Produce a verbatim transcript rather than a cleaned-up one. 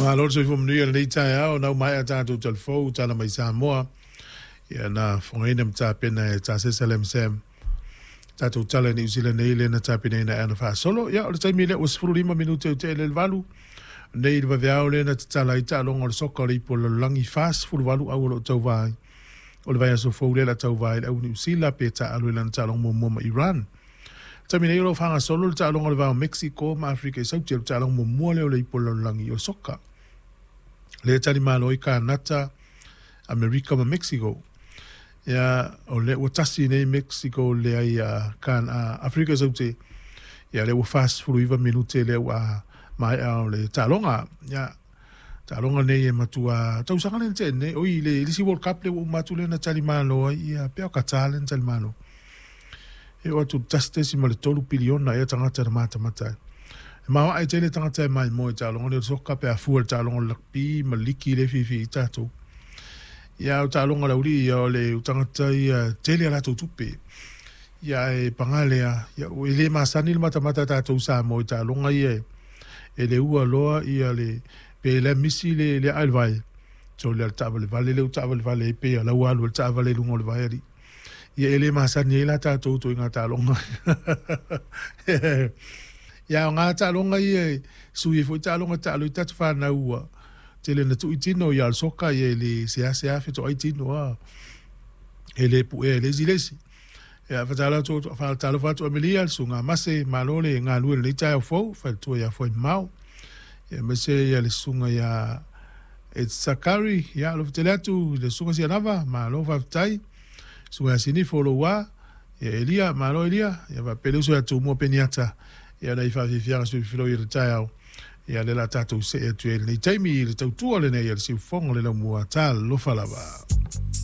Faamalo le soifua manuia i lenei taeao na uma ae a tatou talafou tala mai Samoa ia na fogaina ma tapena e Tasesa Lamsam tatou tala i Niu Sila nei lea na tapenaina e ana faasolo. Ia o le taimi lea ua sefulu lima minute o tea i le valu nei le vaveao lea na tatala ai taaloga o le soka o le ipu o le lalolagi fasefulu valu au o loo tauvā ai o le vaiaso fou lea la tauvā ai le au Niu Sila pe taaalo i lana taaloga muamua ma Iran. Taimi nei o lo o faagasolo le taaloga o le va o Mexico ma Afrika i Sauti o le taaloga muamua lea o le ipu o le lalolagi o soka. Lea e talimalo ai Kanata, Amerika ma Mexico. Ia o lea ua tasi nei Mexico leai a kan a Afrika i Saute. Ia lea ua fasefulu iva minute lea ua maea o le taaloga. Ia taaloga nei e matua tausaga lea na tea nei oi le le isi World Cup lea ua uma atu lea na talimalo ai ia pea o Qatar lea na talimalo. E oo atu i le tasi tesima le tolu piliona ea tagata na matamata ai. E maoae tele tagata e maimoa i taaloga lea o le soka pe a fua i le taaloga o le rugby ma le liki lea e fiafia ai tatou. Ia o taaloga a le aulii ia o le tagata ia tele a latou tupe. Ia ae paga lea, ia e le masani le matamata a tatou i Samoa i taaloga ia e le ua loa ia le pe le misi le le ae i le vai. Sole a le taavalevale lea ua taavalevale ai pei o la ua alu ai le taavale i luga o le vai alii. Ia e le masani ai la tatou ituaiga taaloga. Ia o ngā taaloga ia e sui ai foi taaloga taalo i tatou fanau ua tele na tuu i tino ia o le soka ia e le seasea fetoai tino a e le puea e le isi i le isi. Ia fatalo atu faatalofa atu Amelia le susuga Mase malo le galue i lenei taeao fou faletua ia Fuaimamao. Ia aemaise ia le susuga ia Etsakari ia alofa tele atu i le susuga Sianava malo faafetai. Susuga ia Sinifo Loua ia Elia malo Elia ia faapea le uso ia Tumua Peniata ia nai faafiafiaga suifiloi o le taeao ia lea o le a tatou see atu ai i lenei taimi i le tautua lenei a le siufofoga o le laumua. Talofa lava.